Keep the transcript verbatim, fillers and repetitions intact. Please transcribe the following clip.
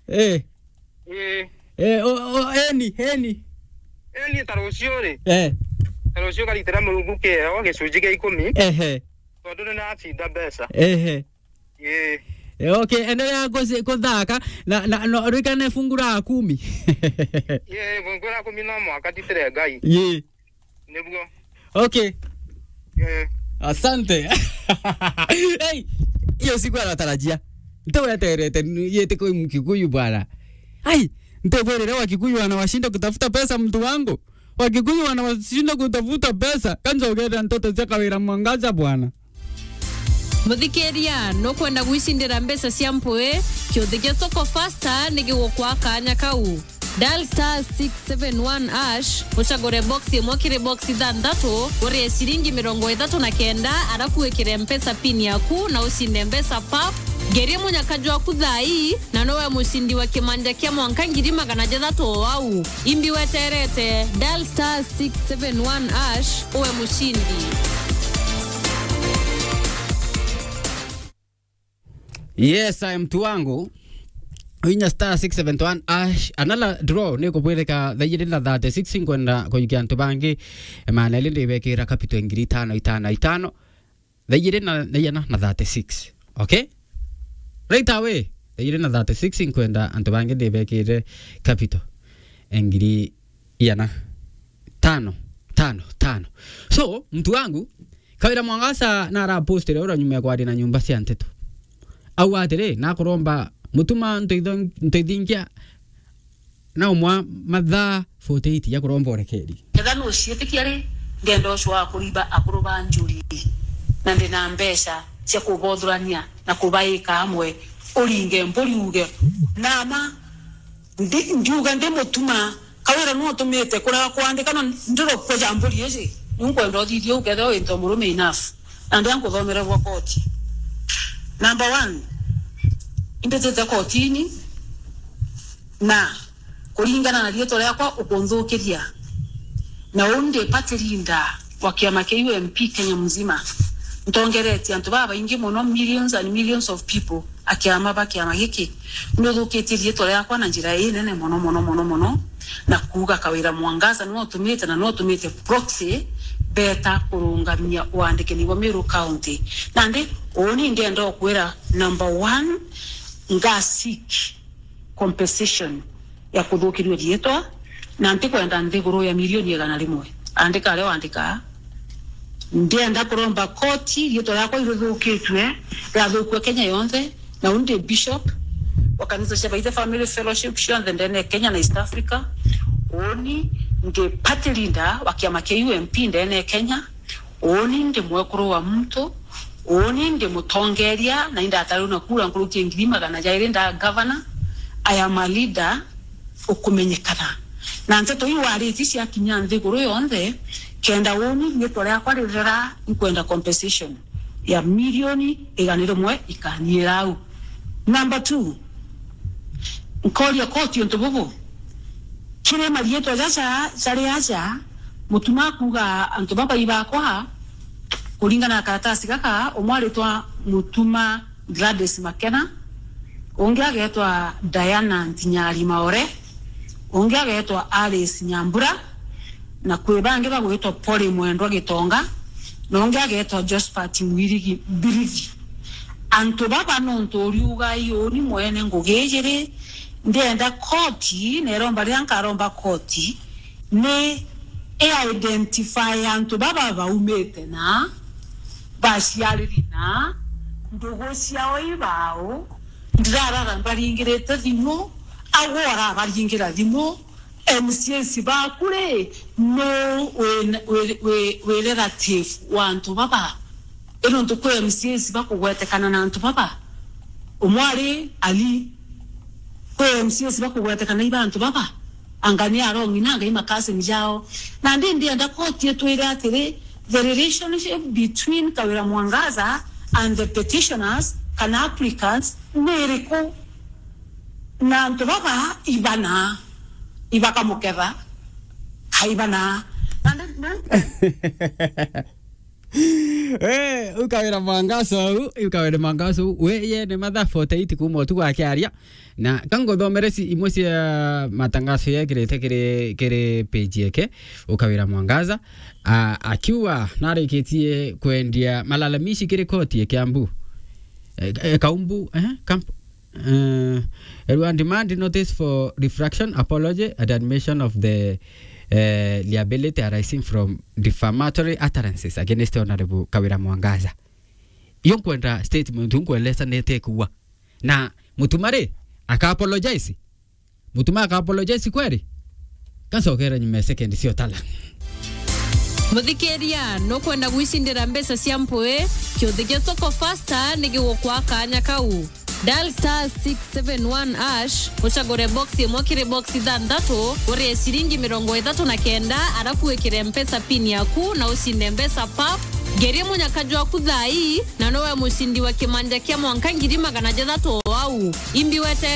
Eh. Eh. Eh, o, o, eni, eni. Eni ta rucio ri. Eh. Ta rucio karitira Murungu kieo gicunji gia ikumi. Ehe. Tondu ni nacinda mbeca. Ehe. Eh. Eh, okay, endelea kuzi-, kuthaka na, na, no, rikane fungu la kumi. Eh, fungu la kumi no mwaka titire Ngai. Ye. Niguo. Okay. Eh. Asante. Hey, hiyo sikuwa natarajia. Nteweterete yete kwa Mkikuyu bwana. Ai, ntekwirire Wakikuyu wanawashinda kutafuta pesa, mtu wangu. Wakikuyu wanawashinda kutafuta pesa. Kanjogera ntoto cia Kawira Mwangaza bwana. Muthikiria, nukwenda gwicindira mbeca cia mpui? Kiuthi gia Soko Fasta ni gigukwa kanya kau. Dial star six seven one hash, ucagure box imwe kiri box ithanthatu, urie ciringi mirongo ithatu na kenda, arafu wikire Mpesa pin yaku na ucinde mbeca pap. Ngerie munyaka jwaku thaa ii, na nowe mucindi wa kimanja kia mwanka ngiri magana jathatu o au. Imbi weterete, dial star six seven one hash, uwe mucindi. Yes, I am mtu wangu. Inya star six seven one hash. Another draw ni kubwirika thaa igiri na thirty-six, nkwenda kujukia antu bangi. Maana ili ndibekira capital ngiri itano, itano, itano. Thaa igiri na, na igana na thirty-six. Okay? Right away. Thaa igiri na thirty-six, nkwenda antu bangi ndibekire capital ngiri igana tano, tano, tano. So, mtu wangu, Kawira Mwangaza na arapostire ura nyuma ya kwaria na nyumba cia nteto. Au atiri, nakuromba Mutuma nteitho-, nteithingia na umwa mathaa forty-eight ya kuromba urekeri. Ketha nuciitikia ri, ndienda ucwa kurimba akuru ba njuri, na ndina mbeca cia kubothurania na kubaika amwe, uringe mburi uge, nama, ndi-, ndiuga ndi Mutuma, Kawira nu utumite kuria kwandika na ndirokua ja mburi iji, ni nkwenda uthithie ukethira winto murume enough. Na ndia nkuthomere bwa koti. Number one, imbitite kotini na kuringana na riitwa riakwa ukunthukiria. Na uu ndi party leader wa kiama kia U M P Kenya mzima. Ntongeretie antu babaingi mono, millions and millions of people, a kiama ba kiama giki. Nuthukitie riitwa riakwa na njira inene mono, mono, mono, mono, na kuuga Kawira Mwangaza niwe utumite, na niwe utumite proxy beta kurungamia uandikani bwa Meru County. Nandi, uuni ndienda ukwira, number one, nga seek compensation ya kuthukirua riitwa, na ntikwenda nthiguru ya milioni igana rimwe. Andika aria wandikaa. Ndienda kuromba koti riitwa riakwa irithukitue, riathukue Kenya yonthe, na uu ndi bishop wa kanisa cia Baithe Family Fellowship cionthe ndene ya Kenya na East Africa. Uuni ndi party leader wa kiama kia U M P ndene ya Kenya. Uuni ndi mwekuru wa muntu, uuni ndi mutongeria, na indatariu na kura nkuruki ya ngiri magana jairi nda governor. I am a leader ukumenyekana. Na nteto iu waritie ciakinya nthiguru yonthe, kenda uuni riitwa riakwa rithera, inkwenda compensation ya milioni igana rimwe ikaniira au. Number two, nkoria koti untu bubu. Kiri mariitwa jaja jari aja, Mutuma akuuga antu baba ibakwa, kuringana na karatasi gaka, umwe aritwa Mutuma Gladys Makena, ungi agetwa Diana Ntinyari Maore, ungi agetwa Alice Nyambura, na kwi bangi bagwitwa Polly Mwendwa Gitonga, na ungi agetwa Josphat Mwirigi Mbirithi. Antu baba nontu uriuga iuni mwene ngugi ijiri, ndienda koti, neromba riria nkaromba koti, ni i identify antu baba baumite na baciariri na ndugu ciao ibao, ndirarara mbaringirite thimu, agwe arabaringira thimu, M C As baku ri, nu wi, wi, wi, wi relative wa antu baba? I nontu kwi M C As bakugwetekana na antu baba. Umwe ari Ali, kwi M C As bakugwetekana iba antu baba. Anga ni arong'i na anga i ma cousin jao. Nandi ndienda koti itwire atiri, the relationship between Kawira Mwangaza and the petitioners kana applicants ni iriku? Na antu baba ibana, ibakamuketha, kaibana. Na, na, na Eh, ukawira mwangaso u, ukawira mwangaso u. We, ye ni mathaa forty-eight kuma utuku akiaria. Na kanguthomere ci-, imwe cia matangaso yekirite kiri, kiri page yake, ukawira mwangaza. A, akiuga narikitie kwendia malalamishi kiri koti ya Kiambu. E, e, Kaumbu, eh, Kamp-, eh, Erua demand notice for refraction, apology and admission of the, eh, liability arising from defamatory utterances against Honorable Kawira Mwangaza. Iyo nkwenda statement, nkweleza nete kuwa. Na Mutuma ri, aka apologize. Mutuma aka apologize kweri? Kacokera nyuma ya second cio tala. Muthikiria, nukwenda gwicindira mbeca cia mpui? Kiuthi gia Soko Fasta ni gigukwa kanya kau. Dial star six seven one hash, ucagure box imwe kiri box ithanthatu, urie ciringi mirongo ithatu na kenda, arafu wikire mpesa pin yaku na ucinde mbeca pap. Ngeria munyaka jwaku thaa ii, na nowe mucindi wa kimanja kia mwanka ngiri magana jathatu o au. Imbi wetere